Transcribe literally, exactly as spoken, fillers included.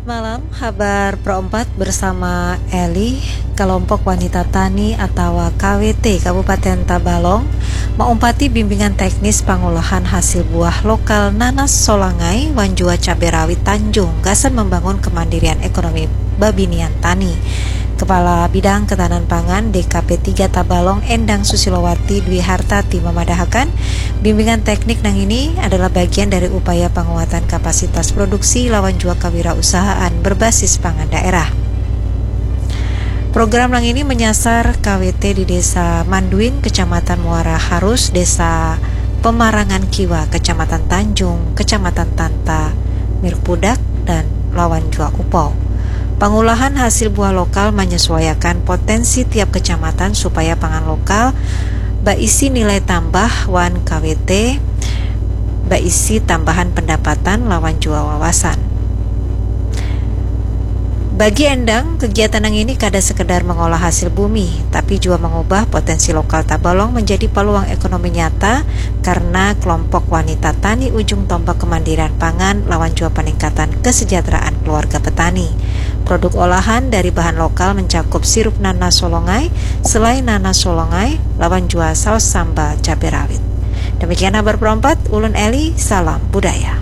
Malam, habar Pro empat bersama Eli. Kelompok Wanita Tani atawa K W T Kabupaten Tabalong maumpati bimbingan teknis pangolahan hasil buah lokal nanas solangai wan jua cabai rawit Tanjung gasan membangun kemandirian ekonomi babinian tani. Kepala Bidang Ketahanan Pangan D K P tiga Tabalong Endang Susilowati Dwi Hartati memadahakan, bimbingan teknik nang ini adalah bagian dari upaya penguatan kapasitas produksi lawan jua kewirausahaan berbasis pangan daerah. Program nang ini menyasar K W T di Desa Manduin, Kecamatan Muara Harus, Desa Pemarangan Kiwa, Kecamatan Tanjung, Kecamatan Tanta, Mirpudak, dan lawan jua Upau. Pengolahan hasil buah lokal menyesuaikan potensi tiap kecamatan supaya pangan lokal baisi nilai tambah wan K W T baisi tambahan pendapatan lawan jua wawasan. Bagi Endang, kegiatan nang ini kada sekedar mengolah hasil bumi, tapi jua mengubah potensi lokal Tabalong menjadi peluang ekonomi nyata karena kelompok wanita tani ujung tombak kemandirian pangan lawan jua peningkatan kesejahteraan keluarga petani. Produk olahan dari bahan lokal mencakup sirup nanas solongai, selai nanas solongai, lawan jua saus sambal cabai rawit. Demikian habar Pro empat, ulun Eli, salam budaya.